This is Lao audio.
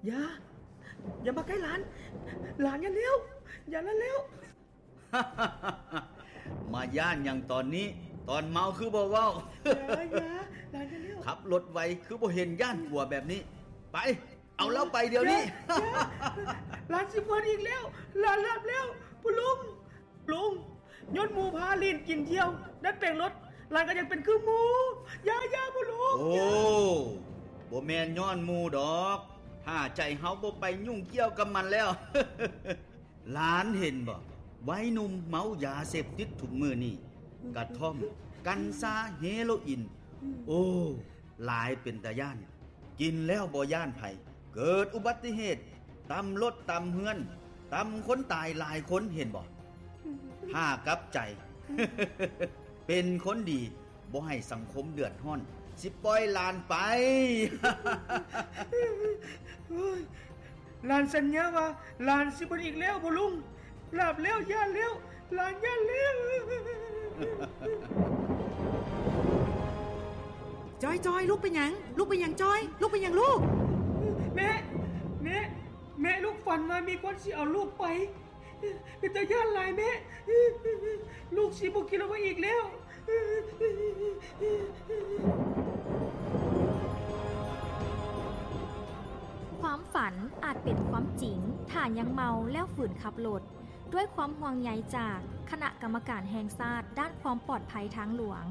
ຢ່າ ຢ່າມາໃກ້ຫຼານ ຫຼານຢ່າແລ້ວ ຢ່າລະແລ້ວ. ມາຢ້ານຫຍັງຕອນນີ້? ຕອນເມົາຄືບໍ່ເວົ້າ? ຢ່າ ຢ່າ ຫຼານຢ່າແລ້ວ. ຂັບລົດໄວຄືບໍ່ເຫັນຢ້ານກົວແບບນີ້. ໄປ ເອົາລາວໄປດຽວນີ້. ຢ່າ ຢ່າ ຫຼານຊິເມີອີກແລ້ວ ຫຼານຫຼັບແລ້ວ ພໍ່ລຸງ. ລຸງ ຍ້ອນໝູ່ພາຫຼິ້ນກິນທ່ຽວ ດັດແປງລົດ ຫຼານກໍຢາກເປັນຄືໝູ່. ຢ່າ ຢ່າ ພໍ່ລຸງ. ໂອ້ ບໍ່ແມ່ນຍ້ອນໝູ່ດອກ ຖ້າໃຈເຮົາບໍ່ໄປຫຍຸ້ງກ່ຽວກັບມັນແລ້ວ. ຫຼານເຫັນບໍ່ ໄວໜຸ່ມເມົາຢາເສບຕິດທຸກມື້ນີ້ ກະທ່ອມ ກັນຊາ ເຮໂຣອິນ ໂອ້ ຫຼາຍເປັນຕາຢ້ານ. ກິນແລ້ວບໍ່ຢ້ານໃຜ ເກີດອຸບັດຕິເຫດ ຕຳລົດຕຳເຮືອນ ຕຳຄົນຕາຍຫຼາຍຄົນ ເຫັນບໍ່? ຖ້າກັບໃຈ ເປັນຄົນດີ ບໍ່ໃຫ້ສັງຄົມເດືອດຮ້ອນ ຊິປ່ອຍຫຼານໄປ. ໂອ້ຍ ຫຼານສັນຍາວ່າ ຫຼານຊິບໍ່ອີກແລ້ວ ພໍ່ລຸງ. ຫຼາບແລ້ວ ຢ້ານແລ້ວ ຫຼານຢ້ານແລ້ວ. ຈອຍ ຈອຍ ລູກເປັນຫຍັງ? ລູກເປັນຫຍັງ ຈອຍ? ລູກເປັນຫຍັງລູກ? ແມ່ ແມ່ ແມ່ ລູກຝັນວ່າມີຄົນຊິເອົາລູກໄປ ເປັນຕາຢ້ານຫຼາຍແມ່ ລູກຊິບໍ່ຂີ່ລົດໄປອີກແລ້ວ. ຄວາມຝັນອາດເປັນຄວາມຈິງ ຖ້າຍັງເມົາແລ້ວຝືນຂັບລົດ. ດ້ວຍຄວາມຫ່ວງໃຍຈາກຄະນະກຳມະການແຫ່ງຊາດດ້ານຄວາມປອດໄພທາງຫຼວງ.